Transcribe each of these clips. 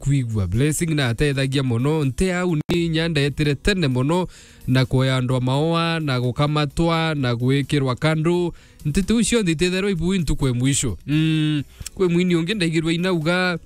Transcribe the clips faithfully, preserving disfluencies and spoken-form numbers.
kwigua. Blessing na atethagia mono. Nte au ni inya ndetire tene mono na kuoya andu a maoa, na gukamatwa, na gwikirwa kandu. Nteto iu cionthe itethirwa ibui ntuku e mwisho. Mm, kwi mwini ungi ndaigirwe inauga,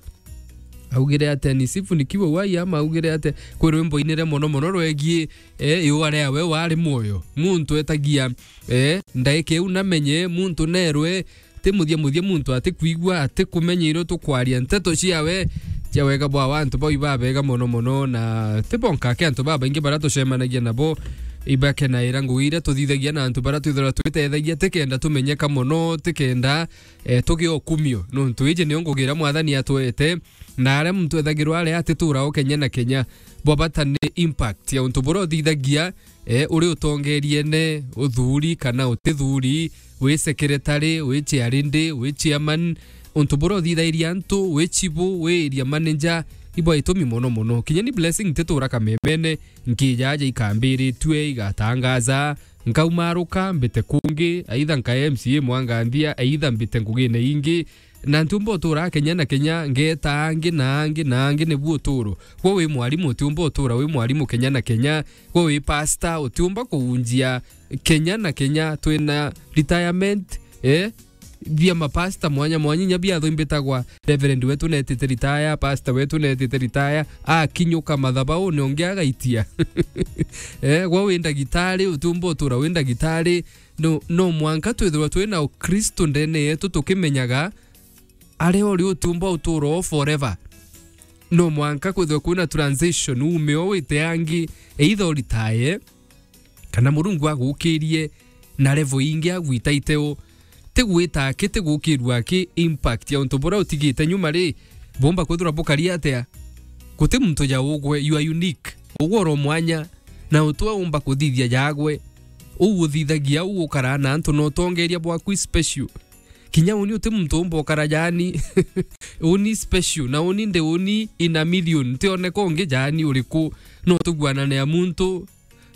augire atia, "Nisifunikiwe uhai," ama augire atia? Kwi rwimbo ainire mono mono rwegie, eh, iua riawe wari mwoyo. Muntu etagia, eh, ndaika iu namenye, muntu nerwe, ti muthia muthia muntu atikwigua, atikumenya irio tukwaria. Nteto ciawe cia wega bwawe antu bau ibabega mono mono, na ti bonka aki antu babaingi baria tucemanagia nabo ibakenaira ngugi iria tuthithagia na antu baria twithirwa twitethagia, tikenda tumenyeka mono, tikenda, eh, tugie ukumio. Nontu iji niyo ngugi iria Mwathani atwete, na aria muntu ethagirwa ari atitura o kenya na kenya. Bwa bata ni impact ya untu buria uthithagia, eh, uri utongeriene, uthuri kana utithuri, wi secretary, wi chairlady, wi chairman, untu buria uthithairia antu, wi chibu, wi area manager, ibwa itumi mono mono. Kinya ni Blessing ntitura kamemene, nkijaja ikambiritue, igatangaza, nkaumaruka, mbite kungi, either nka M C A mwanganthia, either mbite ngugine ingi, na ntiumba utura kenya na kenya, ngeta angi na angi na angi, nibu uturo. Gwe wi mwarimu, utiumba utura wi mwarimu kenya na kenya. Gwe wi pastor, utiumba kuunjia kenya na kenya. Twina retirement, eh? Bia mapasta mwanya mwanya, inya bia atho imbitagwa, Reverend wetu netite retire, pastor wetu netite retire, akinyuka mathabauni ungi agaitia. Eh, gwe wi ndagitari, utiumba utura wi ndagitari. No, no mwanka twithirwa twina Ukristo ndene yetu tukimenyaga aria uri utiumba utura o forever. No mwanka kwithirwa kwina transition, ume o wite angi, either uritaye, kana Murungu agukirie na level ingi agwita iteo. Ti gwita aki, ti gukirua aki, impact ya untu buria utigite nyuma ri, bumba kwithirwa bukari atia? Guti muntu ja ugwe, you are unique. Ugwe uri o mwanya, na utu aumba kuthithia jagwe. Uu uthithagia, uu ukaraa na antu na utongeria bwaku i special. Kinya uni uti muntu umba ukara jaani. Uni special, na uni ndi uni in a million. Ntioneka ungi jaani uriku. No tuguanane a muntu,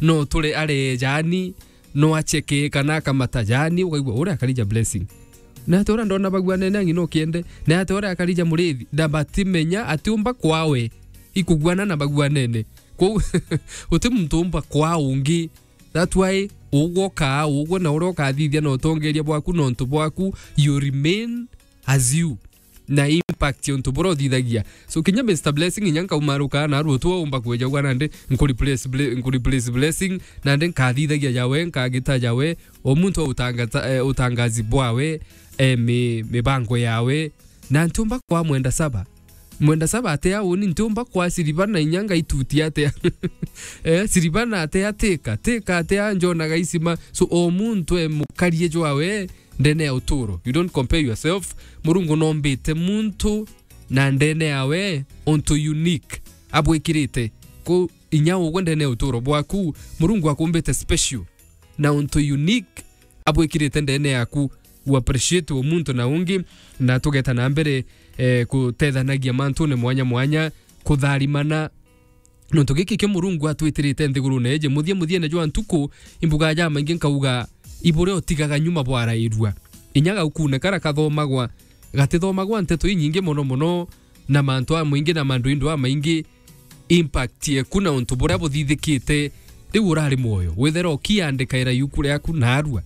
no ture are jaani, no acheke kana akamata jaani, ukaigua uria akarija Blessing. Na ati uria ndona baguanene angi no kiende, na ati uria akarija Murithi, na batimenya ati umba kwawe ikuguana na baguanene. Kwou uti muntu umba kwa ungi. That's why ugwe ukaa ugwe na uria ukathithia na utongeria bwaku na untu bwaku, you remain as you. Na impact ya untu buria uthithagia. So kinya Mister Blessing inya nkaumaruka na aru tu umba kweja ugwa nandi nku replace ble-, nku replace Blessing, nandi nkathithagia jawe, nkagita jawe, o muntu utangata, eh, utangazi bwawe, eh, mi-, mibango yawe. Na ntiumba kwa mwenda saba. Mwenda saba atia uni, ntiumba kwa Silvana inya ngaitutia atia? Eh, Silvana atia tika, tika atia njonaga isima. So o muntu e mukarie jwawe ndene ya uturo. You don't compare yourself. Murungu nombite muntu na ndene yawe untu unique abwikirite. Ku inya ugwe ndene ya uturo bwaku, Murungu akumbite special na untu unique abwikirite ndene yaku. U appreciate o muntu na ungi, na tugeta na mbere, eh, kutethanagia mantune mwanya mwanya, kutharimana. Nontu giki kio Murungu atwitirite nthigurune iji, muthia muthiene jwa ntuku, imbuga jamaingi nkauga, iburia utigaga nyuma bwarairua. Inya gaukune kara kathomagwa, gatithomagwa nteto inyingi mono mono, na mantu amaingi na manduindu amaingi, impact yeku na untu buria buthithikite riu urari mwoyo. Withera ukiandikaira iuku riaku narua.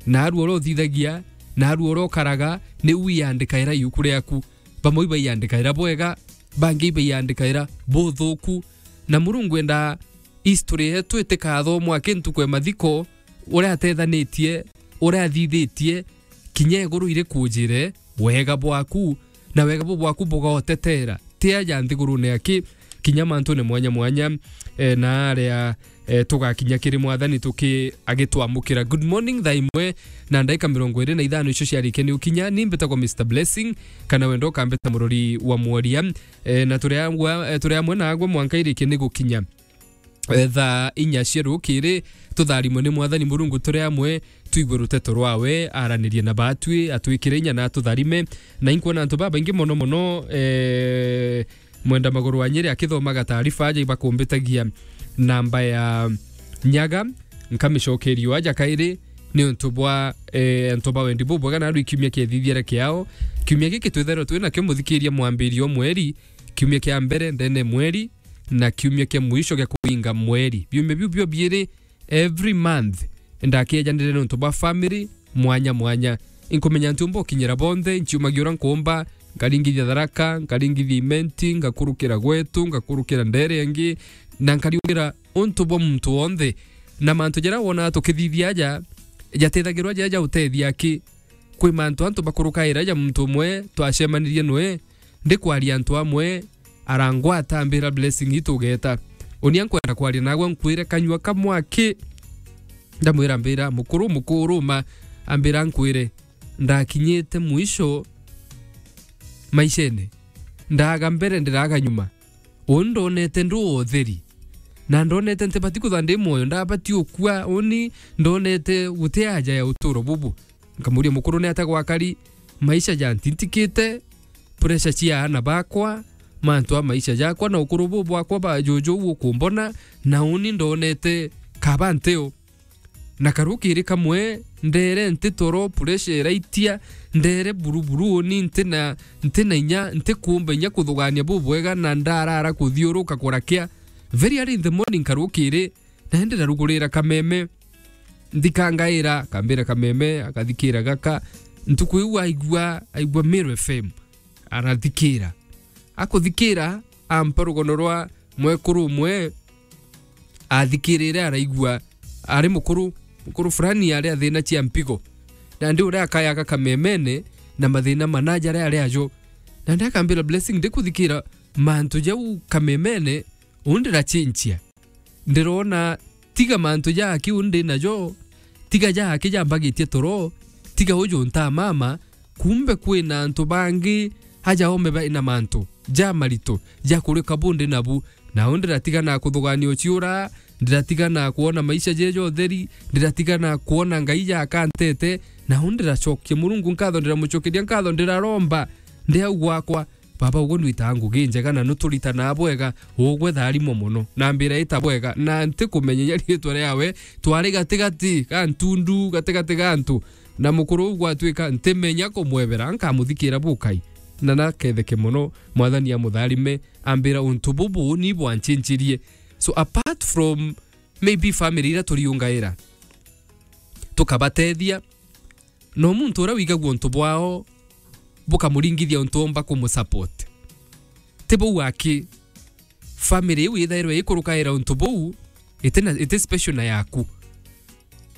Narua uria uthithagia, narua uria ukaraga, niu iandikaira iuku riaku. Bamwe ibaiandikaira bwega, bangi ibaiandikaira buthuku. Na Murungu endaa history yetu itikathomwa aki ntuku ya mathiko, uria atethanitie, uria athithitie, kinya iguru iri kujire wega bwaku, na wega bu bwaku bugotetera ti aja nthigurune aki, kinya mantune mwanya mwanya, eh, na aria, eh, tugakinya kiri Mwathani tuki-, agitwamukira. Good morning, thaa imwe na ndaika mirongo iri na ithano icio ciarikia ni ukinya. Ni mbitagwa Mister Blessing, kana wenda ukambita murori wa mworia. Eh, na turi amwe, eh, turi amwe nagwe mwanka irikie ni gukinya eh, thaa inya cia rukiri, tutharimwe ni Mwathani Murungu turi amwe, twigue ruteto rwawe, aranirie na batwi, atwikire inya na atutharime. Na inkwona antu babaingi mono mono, eh, mwenda maguru wa Nyeri akithomaga taarifa aja ibakumbitagia namba ya Nyaga, nkamicokerio aja kairi, ni untu bwa, eh, antu ba wendi bubwega na aru ikiumia kiethithiere kiao. Kiumia giki twithairwe twinakio muthikiria mwambirio mweri, kiumia kia mbere ndene mweri, na kiumia kia mwisho gia kuinga mweri. Biumia biu bio biiri every month, ndakiajanire nontu bwa family mwanya mwanya. Inkumenya ntiumba ukinyira bonthe, nchiumagia uria nkuumba, nkaringithia Tharaka, nkaringithia Imenti, ngakurukira gwetu, ngakurukira ndere ingi, na nkariugira untu bwa muntu wonthe. Na mantu jaria wonaa tukithithia aja, jatethagirwa jaja utethia aki. Kwi mantu antu bakurukaira ja muntu umwe twacemanirie nwe, ndikwaria antu amwe, arangwata ambira, "Blessing, itugeta." Unia nkwenda kwaria nagwe, nkwire kanyua kamwe aki. Ndamwira, ambira, "Mukuru, mukuru ma," ambira, "Nkwire, ndakinyite mwisho maishene. Ndaga mbere, ndiraga nyuma. Uu ndonete ndu utheri. Na ndonete ntibati kutha ndi mwoyo, ndabati ukua, uni ndonete guti aja ya uturo bubu." Nkamuria, "Mukuru, ni ata gwakari? Maisha jantintikite, pressure cia aana bakwa, mantu a maisha jakwa na ukuru buu bwakwa ba juju ukumbona, na uni ndonete kaba nteo." Na karukiri kamwe, ndere nti toro, pressure iraitia, ndere buruburu, uni nti na, nti na inya, nti kuumba inya kuthugania bubwega, na ndarara kuthiuruka kurakia. Very early in the morning karukiri, na ndirarugurira kameme. Nthikangaira, akambira kameme, akathikira gaka. Ntuku iu aigua, aigua Meru F M. Arathikira. Akuthikira, ampa rugono rwa mwekuru umwe, athikirire araigua ari mukuru, mukuru fulani ari athina cia mpigo. Nandi uria akayaga kamemene na mathina mana jaria ari ajo. Nandi akambira, "Blessing, ndikuthikira mantu jau kamemene, uu ndirachinchia." Ndirona tiga mantu ja aki uu ndi najo, tiga ja aki jambagitie toro, tiga uju ntamama, kumbe kwina antu bangi aja ome baina mantu ja maritu ja kurika bu ndi nabu. Nau ndiratiga na kuthugania uciura, ndiratiga na kwona maisha jeja utheri, ndiratiga na kwona Ngai jakantete, nau ndiracokia Murungu nkatho, ndiramucokeria nkatho, ndiraromba ndi au gwakwa. Baba, ugwe nwitaga ngugi njega na nuturitanaga bwega, ugwe tharimwa mono. Na mbira ita bwega, na ntikumenya inya riitwa riawe, twari gatigati ga ntundu, gatigati ga antu. Na mukuru uu gwatuika ntimenya kumwebera, nkamuthikira bukai. Na naketheke mono, Mwathani amutharime, ambira untu bubu ni bwanchinchirie. So apart from maybe family iria turiungaira, tukabatethia, no muntu uria wigagua untu bwao bukamuringithia untu omba kumusupport. Ti bau aki, family iu ithairwe ikurukaira untu buu, iti na, iti special na yaku.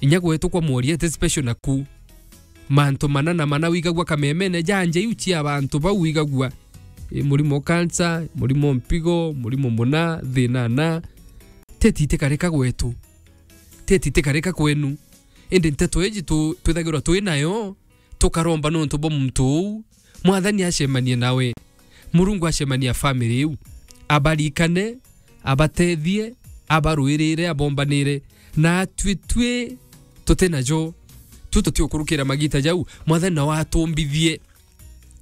Inya gwetu kwa mworia iti special naku. Mantu mana na mana wigagua kamemene, janja iu cia bantu bau wigagua. E, murimo cancer, murimo mpigo, murimo muna, thina na. Teti itikarika gwetu. Teti itikarika kwenu. Indi nteto iji tu-, twithagirwa twi nayo, tukaromba nontu bwa muntu uu, Mwathani acemanie nawe. Murungu acemania family iu. Abarikane, abatethie, abaruirire, abombanire. Na atwi twi tuti najo, tu tutiukurukira magita jau, Mwathani nawe atumbithie,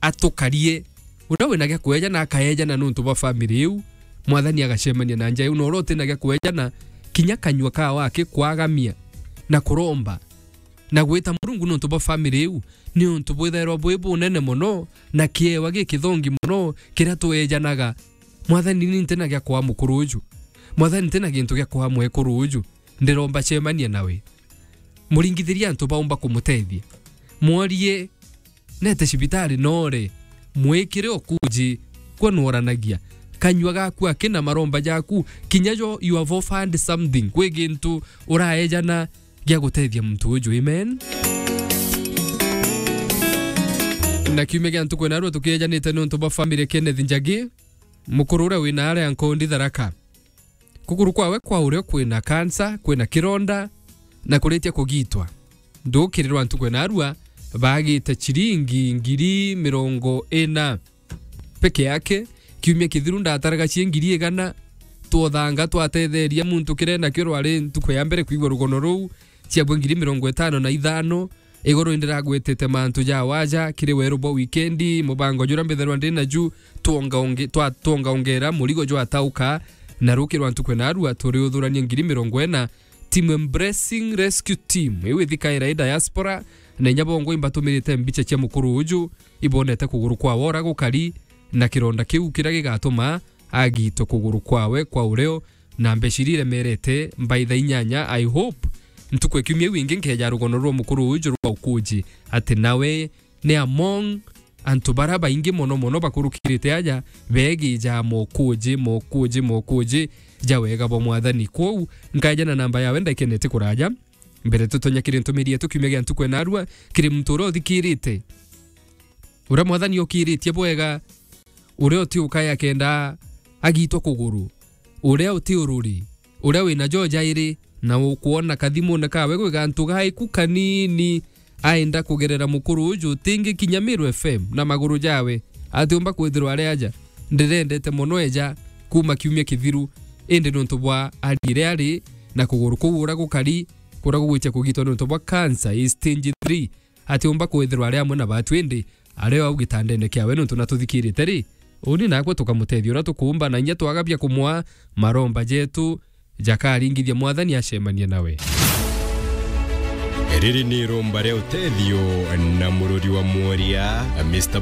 atukarie. Uria wina gia kweja na akaejana nontu bwa family iu, Mwathani agacemania na nja iu. Na uria utina gia kweja na kinya kanyua kawe akikwagamia na kuromba na gwita Murungu nontu bwa family iu, ni untu bwithairwa bwi bunene mono na kiewa gikithongi mono kiria twejanaga. Mwathani, ni ntina gia kwaa mukuru uju. Mwathani, ntina gintu gia kwaa mwekuru uju. Ndiromba cemania nawe. Muringithirie antu baumba kumutethia. Mworie, nete cibitari nore. Mwikire ukuji, kwe nuoranagia. Kanyua gaku akina maromba jaku, kinya jo you have offered something. Kwi gintu uraejana gia gutethia muntu uju. Amen. Na kiumia gia ntuku narua tukiejanite nontu bwa family Kenneth Njagi, mukuru uria wina aria nkondi Tharaka. Kuguru kwawe kwa urio kwina kansa, kwina kironda, na kuritia kugitwa. Ndukirirwa ntuku narua, bagite chiringi ngiri mirongo ina peke yake. Kiumia kithiru ndataraga cie ngiri igana, twothanga twatetheria muntu kiria nakio rwari ntuku ya mbere kwigua rugono ruu, ciabwe ngiri mirongo itano na ithano. Iguru indiragwetete mantu ja waja kiri weru bwa wikendi, mubango juria mbithairwa ndi naju, twongaonge-, twa-, twongaongera murigo jwatauka, na rukirwa ntuku narua turiuthurania ngiri mirongo ina. Team Embracing Rescue Team, iu ithikaira i diaspora, na inya bongo imbatumirite mbicha cia mukuru uju, ibonete kuguru kwa wora gukari, na kironda kiu kiria gigatuma agitwe kuguru kwawe kwa ureo, na mbeca iria iremerete by thaa inyanya. I hope ntuku ya kiumia iu ingi nkeja rugono rwa mukuru uju rwa ukuji, ati nawe ni among antu bara baingi mono mono bakurukirite aja begija mokuji, mokuji, mokuji ja wega bwa Mwathani. Kwou nkaja na namba yawe ndaikenete kuraja. Mbere tutonya kiri ntumiri yetu kiumia gia ntuku enarua, kiri muntu uria uthikirite, uria Mwathani okiritie bwega, uria uti ukaya kenda agitwa kuguru, uria uti ururi, uria wina jo jairi, na ukwona kathimune kawe gwi gantu gaiku kanini, aenda kugerera mukuru uju utingi kinya Meru F M na maguru jawe, atiumba kwithirwa ari aja. Ndirendete mono eja kuma kiumia kithiru, indi nontu bwa arire ari na kuguru kuu uria gukari, kuria gugwitia kugitwa nontu bwa cancer i stage three, atiumba kwithirwa ari amwe na batu, indi ari o au gitandene kiawe, nontu na tuthikirite ri, uni nakwe tukamutethia uria tukuumba, na inya twagabia kumwa maromba jetu jakaringithia Mwathani acemanie nawe. Riri ni iromba ria utethio na murori wa mworia, Mister